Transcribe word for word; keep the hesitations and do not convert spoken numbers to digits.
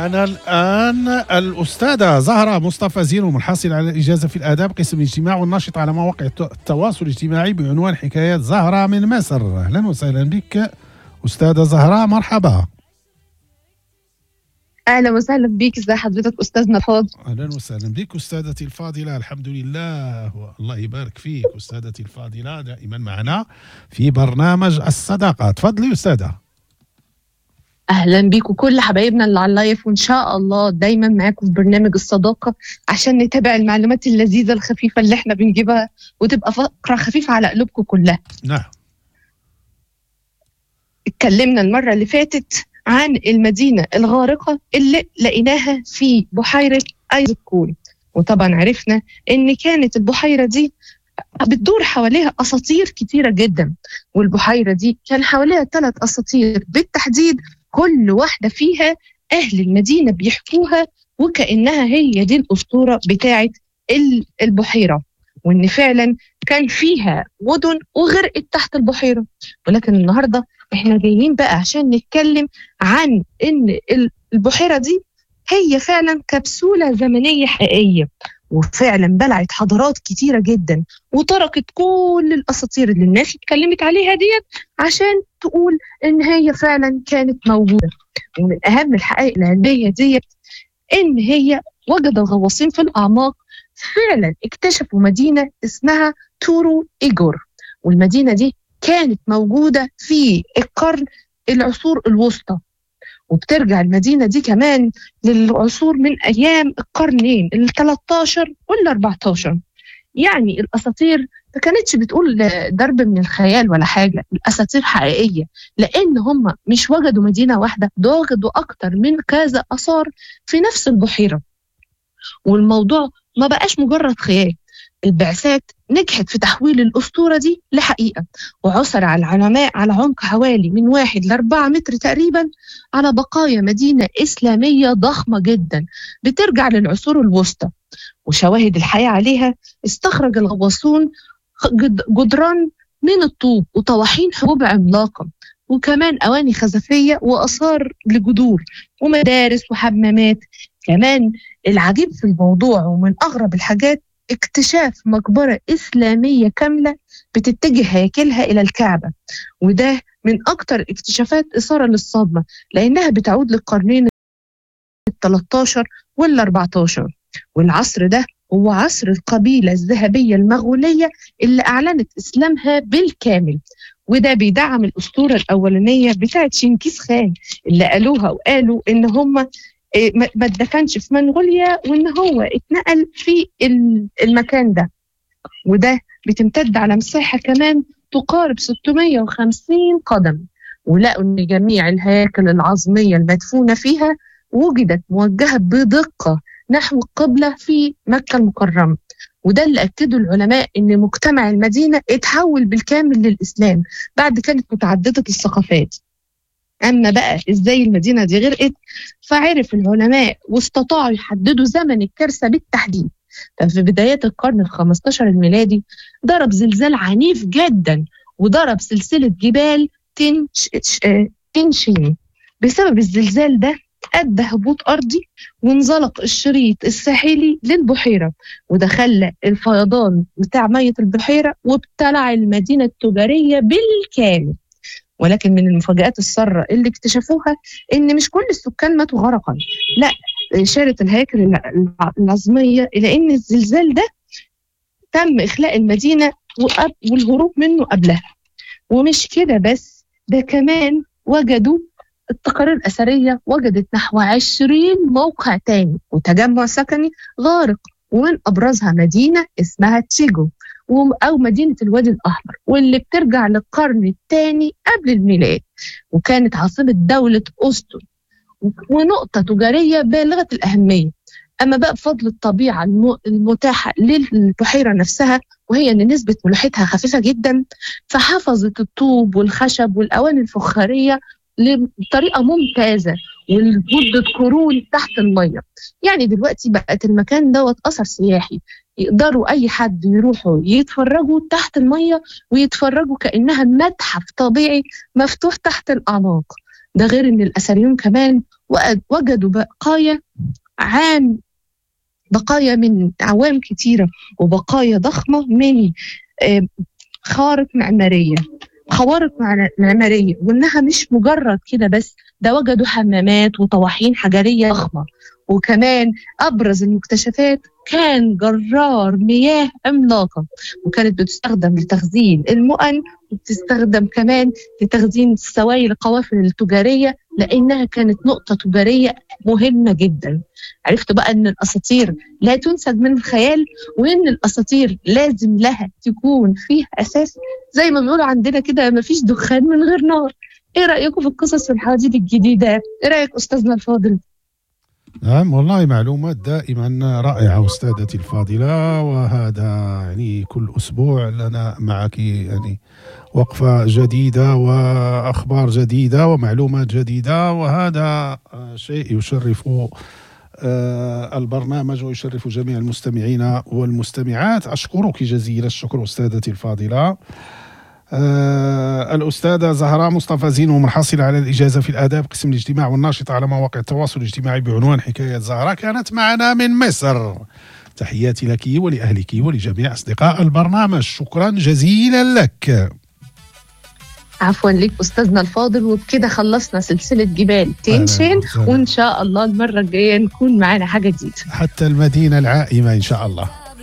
معنا الآن الأستاذة زهرة مصطفى زينو، الحاصلة على الإجازة في الآداب قسم الاجتماع والناشطة على مواقع التواصل الاجتماعي بعنوان حكايات زهرة من مصر. أهلا وسهلا بك أستاذة زهرة، مرحبا. اهلا وسهلا بيك، ازي حضرتك استاذنا الفاضل؟ أهلا وسهلا بك أستاذتي الفاضلة، الحمد لله والله يبارك فيك أستاذتي الفاضلة، دائما معنا في برنامج الصداقة. تفضلي أستاذة. اهلا بيك وكل حبايبنا اللي على ال live، وان شاء الله دايما معاكم في برنامج الصداقة عشان نتابع المعلومات اللذيذة الخفيفة اللي احنا بنجيبها وتبقى فقره خفيفة على قلوبكم كلها. نعم. اتكلمنا المرة اللي فاتت عن المدينة الغارقة اللي لقيناها في بحيرة ايزكول، وطبعا عرفنا ان كانت البحيرة دي بتدور حواليها اساطير كتيرة جدا، والبحيره دي كان حواليها ثلاث اساطير بالتحديد، كل واحدة فيها اهل المدينة بيحكوها وكانها هي دي الاسطورة بتاعه البحيرة، وان فعلا كان فيها مدن وغرقت تحت البحيرة. ولكن النهارده احنا جايين بقى عشان نتكلم عن ان البحيرة دي هي فعلا كبسولة زمنية حقيقية، وفعلا بلعت حضارات كتيرة جدا وتركت كل الأساطير اللي الناس اتكلمت عليها ديت عشان تقول إن هي فعلا كانت موجودة. ومن أهم الحقائق العلمية ديت إن هي وجد الغواصين في الأعماق فعلا اكتشفوا مدينة اسمها تورو إيجور، والمدينة دي كانت موجودة في القرن العصور الوسطى، وبترجع المدينة دي كمان للعصور من أيام القرنين ال تلتاشر وال أربعتاشر. يعني الأساطير ما كانتش بتقول ضرب من الخيال ولا حاجة، الأساطير حقيقية، لأن هم مش وجدوا مدينة واحدة، ده وجدوا أكتر من كذا آثار في نفس البحيرة، والموضوع ما بقاش مجرد خيال. البعثات نجحت في تحويل الأسطورة دي لحقيقة، وعثر على العلماء على عمق حوالي من واحد لأربعة متر تقريبا على بقايا مدينة إسلامية ضخمة جدا بترجع للعصور الوسطى، وشواهد الحياة عليها استخرج الغواصون جدران من الطوب وطواحين حبوب عملاقة، وكمان أواني خزفية وآثار لجذور ومدارس وحمامات. كمان العجيب في الموضوع ومن أغرب الحاجات اكتشاف مقبرة إسلامية كاملة بتتجه هياكلها إلى الكعبة، وده من أكتر اكتشافات إثارة للصدمة لأنها بتعود للقرنين التلتاشر والأربعتاشر، والعصر ده هو عصر القبيلة الذهبية المغولية اللي أعلنت إسلامها بالكامل، وده بيدعم الأسطورة الأولانية بتاعت شنكيز خان اللي قالوها وقالوا إن هم ما اتدفنش في منغوليا وان هو اتنقل في المكان ده، وده بتمتد على مساحة كمان تقارب ستمية وخمسين قدم. ولقوا ان جميع الهياكل العظمية المدفونة فيها وجدت موجهة بدقة نحو القبلة في مكة المكرمة، وده اللي أكده العلماء ان مجتمع المدينة اتحول بالكامل للإسلام بعد كانت متعددة الثقافات. أما بقى إزاي المدينة دي غرقت، فعرف العلماء واستطاعوا يحددوا زمن الكارثة بالتحديد. ففي بدايات القرن الخمستاشر الميلادي ضرب زلزال عنيف جدا وضرب سلسلة جبال تنش... تنشين. بسبب الزلزال ده أدى هبوط أرضي وانزلق الشريط الساحلي للبحيرة، وده خلى الفيضان بتاع مية البحيرة وابتلع المدينة التجارية بالكامل. ولكن من المفاجآت السارة اللي اكتشفوها إن مش كل السكان ماتوا غرقا، لا، إشارة الهياكل العظمية إلى إن الزلزال ده تم إخلاء المدينة والهروب منه قبلها. ومش كده بس، ده كمان وجدوا التقارير الأثرية وجدت نحو عشرين موقع تاني وتجمع سكني غارق، ومن أبرزها مدينة اسمها تشيجو أو مدينة الوادي الأحمر، واللي بترجع للقرن الثاني قبل الميلاد، وكانت عاصمة دولة أوستون ونقطة تجارية بالغة الأهمية. أما بقى بفضل الطبيعة المتاحة للبحيرة نفسها، وهي أن نسبة ملوحتها خفيفة جدا، فحفظت الطوب والخشب والأواني الفخارية بطريقة ممتازة ولمدة قرون تحت المية. يعني دلوقتي بقت المكان دوت أثر سياحي، يقدروا أي حد يروحوا يتفرجوا تحت المية ويتفرجوا كأنها متحف طبيعي مفتوح تحت الأعماق. ده غير إن الأثريون كمان ووجدوا بقايا عام بقايا من أعوام كتيرة وبقايا ضخمة من خارق معمارية خوارق معمارية، وإنها مش مجرد كده بس، ده وجدوا حمامات وطواحين حجرية ضخمة. وكمان أبرز المكتشفات كان جرار مياه عملاقة، وكانت بتستخدم لتخزين المؤن، وبتستخدم كمان لتخزين السوائل القوافل التجارية، لأنها كانت نقطة تجارية مهمة جدا. عرفت بقى أن الأساطير لا تنسج من الخيال، وأن الأساطير لازم لها تكون فيها أساس، زي ما بيقولوا عندنا كده مفيش دخان من غير نار. إيه رأيكم في القصص والحواديت الجديدة؟ إيه رأيك أستاذنا الفاضل؟ نعم والله معلومات دائما رائعة أستاذتي الفاضلة، وهذا يعني كل أسبوع لنا معك يعني وقفة جديدة وأخبار جديدة ومعلومات جديدة، وهذا شيء يشرف البرنامج ويشرف جميع المستمعين والمستمعات. أشكرك جزيل الشكر أستاذتي الفاضلة. آه الأستاذة زهراء مصطفى زينو، منحصلة على الإجازة في الآداب قسم الاجتماع والناشطة على مواقع التواصل الاجتماعي بعنوان حكاية زهراء، كانت معنا من مصر. تحياتي لك ولأهلك ولجميع أصدقاء البرنامج، شكرا جزيلا لك. عفوا لك أستاذنا الفاضل. وبكده خلصنا سلسلة جبال تين شان، وإن شاء الله المرة الجاية نكون معنا حاجة جديدة حتى المدينة العائمة إن شاء الله.